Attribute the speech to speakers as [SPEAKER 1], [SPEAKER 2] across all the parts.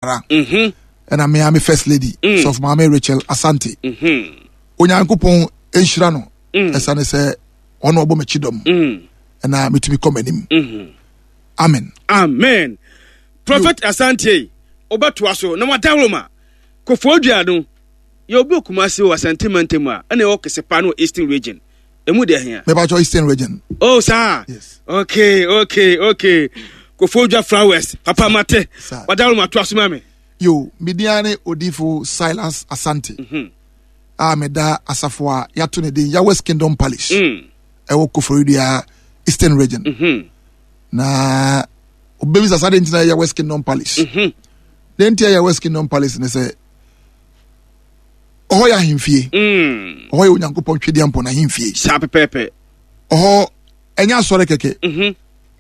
[SPEAKER 1] Ara. Ɛna me ara me first lady, mm. Sɔfo Maame Rachel Asante. Mm-hmm. Onyankopɔn nhyira no. Mm. Ɛsane sɛ ɔno ɔbɔ m'akyi dɔm. Mm. Ɛna metumi kɔ m'anim. Mm-hmm. Amen.
[SPEAKER 2] Amen. Prophet Asante, wobɛtoa so na wadaworo Kofoɔ dua no yɛ obi Kumasi wɔ Asante mantam a ɛna ɛwɔ Kesepa no wɔ Eastern Region. Emu deɛ hia.
[SPEAKER 1] Mepakyɛ Eastern Region.
[SPEAKER 2] Oh saa.
[SPEAKER 1] Yes.
[SPEAKER 2] Okay okay okay. Kofoɔ dua flowers papa mate. Wadaworo ma to aso ma me.
[SPEAKER 1] Yo, me din ne Odifo Silas Asante. Mm -hmm. A meda asafo a yɛato ne din Yahweh's Kingdom Palace. Mm. Ɛwɔ Koforidua Eastern Region. Mm -hmm. Na obebisa saa de ntina Yahweh's Kingdom Palace. Mm -hmm. Deɛ nti a Yahweh's Kingdom Palace ne sɛ ɔhɔ yɛ ahemfie mm. ɔhɔ yɛ Onyankopɔn twedeɛ mpɔ n'ahemfie.
[SPEAKER 2] Saa pɛpɛɛpɛ.
[SPEAKER 1] Ɔhɔ ɛnyɛ asɔre kɛkɛ. Mm-hmm.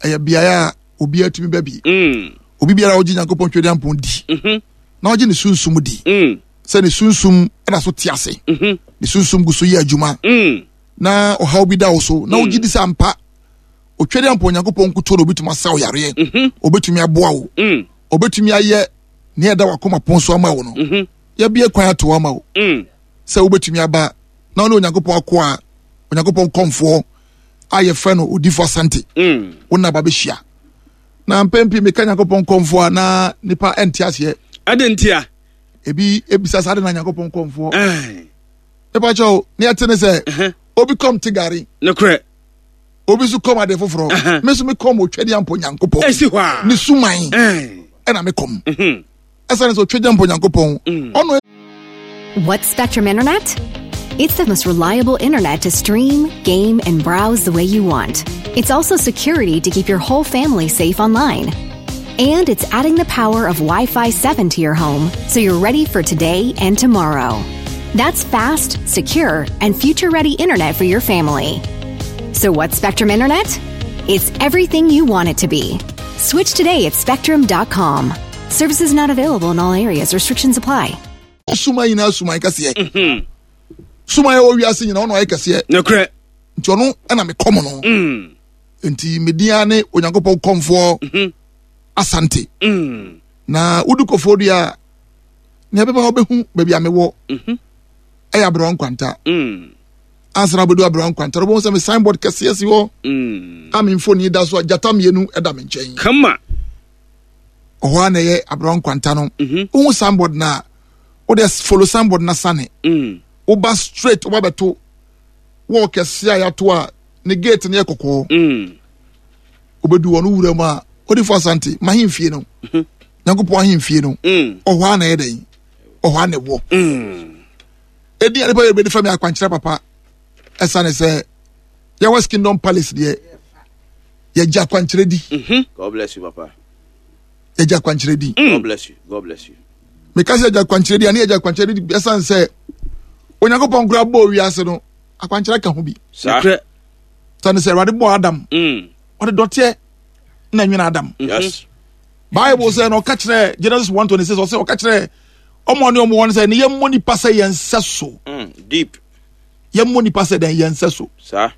[SPEAKER 1] Ɛyɛ beaeɛ a obiara tumi ba bi. Mm. Obi biara a ɔgye Nyankopɔn twedeɛ mpɔn di. Mm-hmm. Na ɔgye ne sunsum di. Mm. Sɛ ne sunsum ɛda so te ase. Mm-hmm. Ne sunsum gu so yɛ adwuma. Na ɔhaw bi da wo so. Na wogye di sɛ ampa otwedeɛ mpɔn Onyankopɔn nkuto na obetumi asaw yareɛ. Obetumi aboa wo. Obetumi ayɛ nea ɛda wakoma pon so ama wo no mhm. yɛbie kwan ato ama wo mm. sɛ wobɛtumi aba na wone Onyankopɔn akoa Onyankopɔn kɔmfoɔ a yɛfrɛ no Odifo Asante mm. wo naba bɛhyia na mpɛn pii meka Nyankopɔn kɔmfoɔ a na nipa ɛnte aseɛ.
[SPEAKER 2] Ɛde ntia
[SPEAKER 1] ebi ebisa saa de na Nyankopɔn kɔmfoɔ nipa kyɛw ne ɛte ne sɛ obi kɔm te gari
[SPEAKER 2] nokorɛ
[SPEAKER 1] obi nso kɔm ade foforɔ me nso me kɔm otwadiampo Nyankopɔn
[SPEAKER 2] ɛsi hɔ a
[SPEAKER 1] ne suman ɛna me kɔm ɛsane sɛ otwadiampo Nyankopɔn mm. ɔno.
[SPEAKER 3] What's Spectrum Internet? It's the most reliable internet to stream, game, and browse the way you want. It's also security to keep your whole family safe online. And it's adding the power of Wi Fi 7 to your home so you're ready for today and tomorrow. That's fast, secure, and future ready internet for your family. So, what's Spectrum Internet? It's everything you want it to be. Switch today at spectrum.com. Services not available in all areas, restrictions apply.
[SPEAKER 1] Suma nyinaa suman kɛseɛ. Mhm. Suman ɛwɔ wiase nyinaa ɔno ayɛ kɛseɛ.
[SPEAKER 2] Nokorɛ.
[SPEAKER 1] Nti ɔno ɛna mekɔm no. Mm. Nti media ne Onyankopɔn kɔmfoɔ mhm. Asante. Mm. Na wodi kɔfoɔ dua nea ɛbɛba hɔ bɛhu baabi a mewɔ mhm. ɛyɛ aberewa nkwanta mm. ansa na wobɛdu aberewa nkwanta no wobɛhu sɛ me signboard kɛseɛ si hɔ mm. a me mfoni da so a gyata mmienu ɛda me nkyɛn
[SPEAKER 2] kama
[SPEAKER 1] ɔhɔ a na ɛyɛ aberewa nkwanta no mhm. wohu signboard no a wode follow signboard no sane mm. woba straight woba bɛto wɔɔ kɛseɛ a yɛato a ne gate no yɛ kɔkɔɔ wobɛdu hɔ no wura mu a odifo asante mahemfie no mhm. Nyankopɔn ahemfie no mm. ɔhɔ a na ɛyɛ dɛn ɔhɔ a na ɛwɔ mm. ɛdi a nipa yɛ bɛdi fa mi akwankyerɛ papa ɛsane sɛ Yahweh's Kingdom Palace deɛ yɛgye akwankyerɛ di
[SPEAKER 2] mhm.
[SPEAKER 4] God bless you papa
[SPEAKER 1] yɛgye akwankyerɛ di
[SPEAKER 4] mm. God bless you God bless you
[SPEAKER 1] meka sɛ yɛgye akwankyerɛ di a ne yɛgye akwankyerɛ di ɛsane sɛ Onyankopɔn koraa bɔɔ wiase no akwankyerɛ ka ho bi sane sɛ Awurade bɔɔ Adam ɔde dɔteɛ na nwene Adam
[SPEAKER 4] yes
[SPEAKER 1] Bible sɛ na ɔka kyerɛ Genesis 1:26 ɔsɛ ɔka kyerɛ ɔmo ne ɔmo wɔn sɛ ne yɛmmɔ nipa sɛ yɛn nsɛ so
[SPEAKER 4] mm, deep
[SPEAKER 1] yɛmmɔ nipa sɛ dɛn yɛn nsɛ so
[SPEAKER 4] saa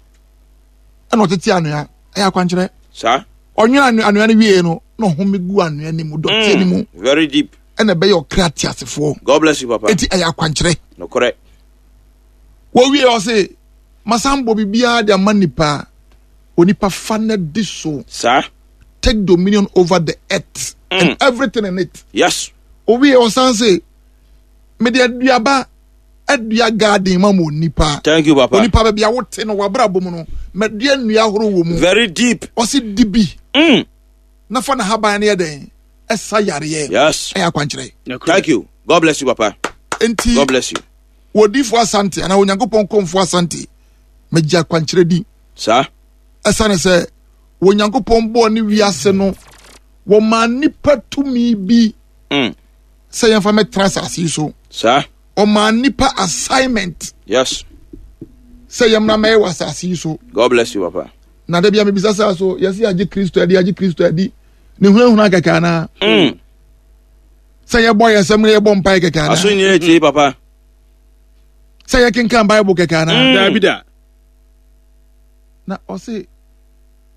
[SPEAKER 1] ɛna ɔtete anoa ɛyɛ akwankyerɛ
[SPEAKER 4] saa
[SPEAKER 1] ɔnwene anoa no wie no na ɔhome gu anoa no mu dɔteɛ no mu
[SPEAKER 4] mm, very deep
[SPEAKER 1] ɛna ɛbɛyɛ ɔkra teasefoɔ.
[SPEAKER 4] God bless you papa.
[SPEAKER 1] Eti ɛyɛ akwankyerɛ.
[SPEAKER 4] Nokorɛ.
[SPEAKER 1] Wɔwie ɔse masan bɔ biribiara de ama nipa onipa fa na di so.
[SPEAKER 4] Saa.
[SPEAKER 1] Take dominion over the earth mm. and everything in it.
[SPEAKER 4] Yes.
[SPEAKER 1] Owie ɔsan se mede aduaba adua garden ma mo nipa.
[SPEAKER 4] Thank you papa.
[SPEAKER 1] Onipa baabi a wote no wabrabɔ mu no madua nnua ahorow wɔ mu.
[SPEAKER 4] Very deep.
[SPEAKER 1] Ɔse di bi.
[SPEAKER 4] Mm.
[SPEAKER 1] Na fa na haban no yɛ dɛn ɛsa yareɛ.
[SPEAKER 4] Yes.
[SPEAKER 1] Ɛyɛ akwankyerɛ.
[SPEAKER 4] Thank you. God bless you papa.
[SPEAKER 1] Enti.
[SPEAKER 4] God bless you.
[SPEAKER 1] Wɔdifo Asante anaa Onyankopɔn kɔmfo Asante megye akwankyerɛ di.
[SPEAKER 4] Saa.
[SPEAKER 1] Ɛsane sɛ Onyankopɔn bɔɔ ne wiase no wɔmaa nnipa tumi bi
[SPEAKER 4] mm.
[SPEAKER 1] sɛ yɛmfa mɛtena asase yi so.
[SPEAKER 4] Saa.
[SPEAKER 1] Ɔmaa nnipa assignment.
[SPEAKER 4] Yes.
[SPEAKER 1] Sɛ yɛmmra mɛyɛ wɔ asase yi so.
[SPEAKER 4] God bless you papa.
[SPEAKER 1] Na da bia mebisa sɛ so yɛsi agye Kristo adi agye Kristo adi ne hunahuna kɛkɛ anaa.
[SPEAKER 4] Mm.
[SPEAKER 1] Sɛ yɛbɔ yɛn nsɛm na yɛbɔ mpae kɛkɛ anaa.
[SPEAKER 4] Aso nyɛ tie papa.
[SPEAKER 1] Sɛ yɛkenkan Bible kɛkɛ anaa.
[SPEAKER 2] Mm. Daabi da.
[SPEAKER 1] Na ɔse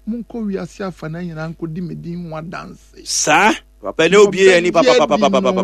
[SPEAKER 1] monkɔ wiase afa na nyinaa nkɔdi me din ho adanse.
[SPEAKER 4] Saa. Papa ne obie ani papapapapapa.